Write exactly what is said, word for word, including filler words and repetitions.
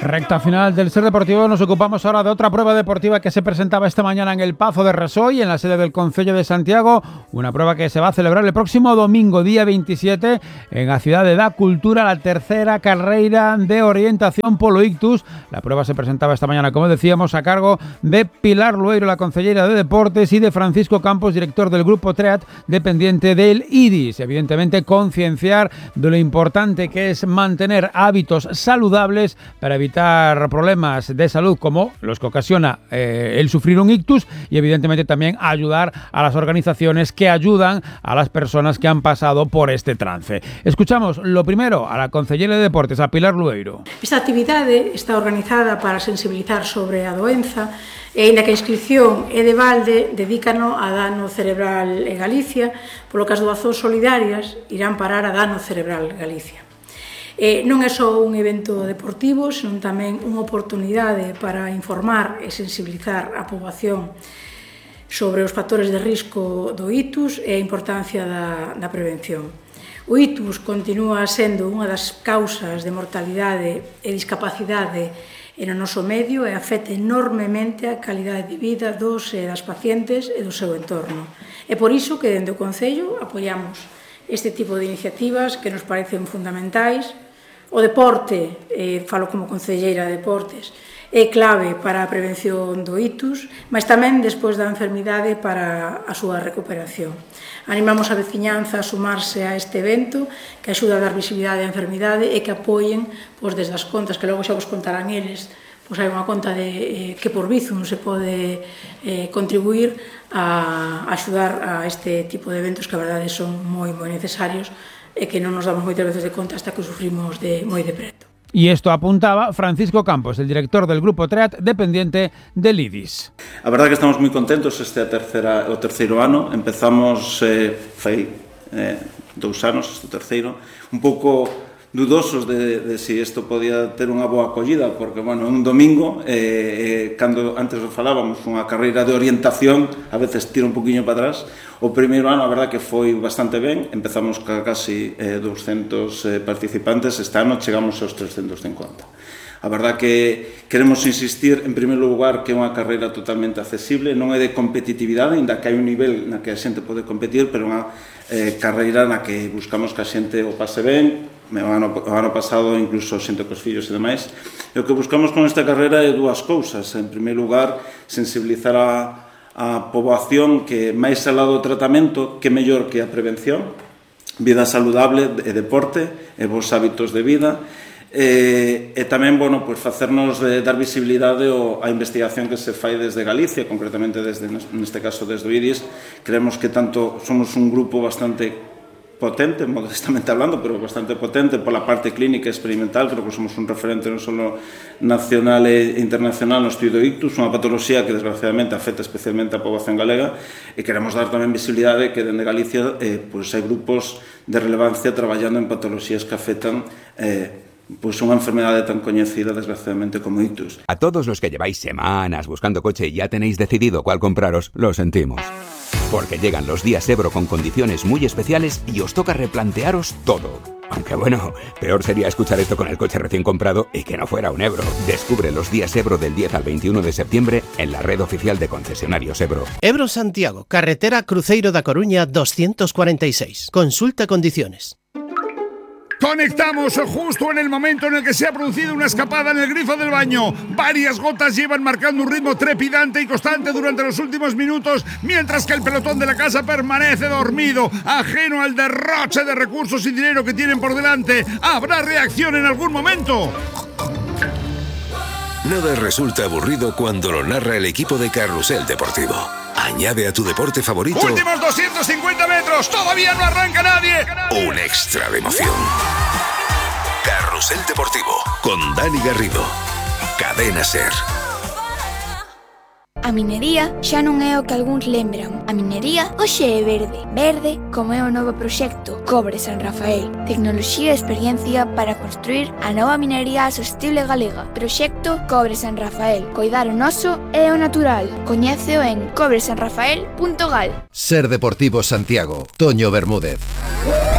Recta final del Ser Deportivo. Nos ocupamos ahora de otra prueba deportiva que se presentaba esta mañana en el Pazo de Resoy, en la sede del Concello de Santiago. Una prueba que se va a celebrar el próximo domingo, día veintisiete, en la ciudad de Da Cultura, la tercera carreira de orientación polo ictus. La prueba se presentaba esta mañana, como decíamos, a cargo de Pilar Lueiro, la concellera de Deportes, y de Francisco Campos, director del Grupo TREAT, dependiente del I D I S. Evidentemente, concienciar de lo importante que es mantener hábitos saludables para evitar problemas de salud como los que ocasiona eh, el sufrir un ictus, y evidentemente también ayudar a las organizaciones que ayudan a las personas que han pasado por este trance. Escuchamos lo primero a la concellera de Deportes, a Pilar Lueiro. Esta actividade está organizada para sensibilizar sobre a doenza e, ainda que a inscripción é de balde, dedícano a dano cerebral en Galicia, polo que as doazóns solidarias irán parar a Dano Cerebral Galicia. Eh, non é só un evento deportivo, senón tamén unha oportunidade para informar e sensibilizar a poboación sobre os factores de risco do ictus e a importancia da, da prevención. O ictus continúa sendo unha das causas de mortalidade e discapacidade no noso medio e afecta enormemente a calidade de vida dos e das pacientes e do seu entorno. É por iso que dende o Concello apoiamos este tipo de iniciativas que nos parecen fundamentais. O deporte, eh, falo como concelleira de deportes, é clave para a prevención do ictus, mas tamén despois da enfermidade para a súa recuperación. Animamos a veciñanza a sumarse a este evento que axuda a dar visibilidade á enfermidade e que apoien, pois, desde as contas que logo xa vos contarán eles, pois hai unha conta de, eh, que por Bizum se pode eh, contribuir a axudar a este tipo de eventos que a verdade son moi, moi necesarios e que non nos damos moitas veces de conta hasta que sufrimos de, moi de preto. Y esto apuntaba Francisco Campos, el director del Grupo TREAT, dependiente del I D I S. A verdade que estamos moi contentos este a terceira, o terceiro ano. Empezamos eh, fai eh, dous anos, este terceiro, un pouco dudosos de, de si isto podía ter unha boa acollida, porque, bueno, un domingo, eh, eh, cando antes falábamos, unha carreira de orientación, a veces tira un poquinho para atrás. O primeiro ano, a verdade que foi bastante ben, empezamos ca casi eh, doscientos eh, participantes, este ano chegamos aos trescientos cincuenta. A verdade que queremos insistir, en primeiro lugar, que é unha carreira totalmente accesible, non é de competitividade, ainda que hai un nivel na que a xente pode competir, pero unha eh, carreira na que buscamos que a xente o pase ben. O ano, o ano pasado incluso xente cos fillos e demais. E o que buscamos con esta carreira é dúas cousas. En primeiro lugar, sensibilizar a, a poboación que máis alá do tratamento, que mellor que a prevención, vida saludable e deporte e bons hábitos de vida. E, e tamén, bueno, pues facernos de, dar visibilidade ao, a investigación que se fai desde Galicia, concretamente desde, neste caso desde o I D I S. Creemos que tanto somos un grupo bastante potente, modestamente hablando, pero bastante potente pola parte clínica e experimental. Creo que somos un referente non só nacional e internacional no estudo do ictus, unha patoloxía que desgraciadamente afecta especialmente a poboación galega, e queremos dar tamén visibilidade que dende Galicia eh, pues hai grupos de relevancia traballando en patoloxías que afectan eh, pues unha enfermedade tan coñecida desgraciadamente como ictus. A todos los que lleváis semanas buscando coche y ya tenéis decidido cuál compraros, lo sentimos. Porque llegan los días Ebro con condiciones muy especiales y os toca replantearos todo. Aunque bueno, peor sería escuchar esto con el coche recién comprado y que no fuera un Ebro. Descubre los días Ebro del diez al veintiuno de septiembre en la red oficial de concesionarios Ebro. Ebro Santiago, carretera Cruceiro da Coruña doscientos cuarenta y seis. Consulta condiciones. Conectamos justo en el momento en el que se ha producido una escapada en el grifo del baño. Varias gotas llevan marcando un ritmo trepidante y constante durante los últimos minutos, mientras que el pelotón de la casa permanece dormido, ajeno al derroche de recursos y dinero que tienen por delante. ¿Habrá reacción en algún momento? Nada resulta aburrido cuando lo narra el equipo de Carrusel Deportivo. Añade a tu deporte favorito... ¡Últimos doscientos cincuenta metros! ¡Todavía no arranca nadie! Un extra de emoción. Carrusel Deportivo, con Dani Garrido. Cadena Ser. A minería xa non é o que algúns lembran. A minería hoxe é verde. Verde como é o novo proxecto Cobre San Rafael. Tecnoloxía e experiencia para construir a nova minería sostible galega. Proxecto Cobre San Rafael. Coidar o noso e o natural. Coñéceo en cobre san rafael punto gal. Ser Deportivo Santiago. Toño Bermúdez.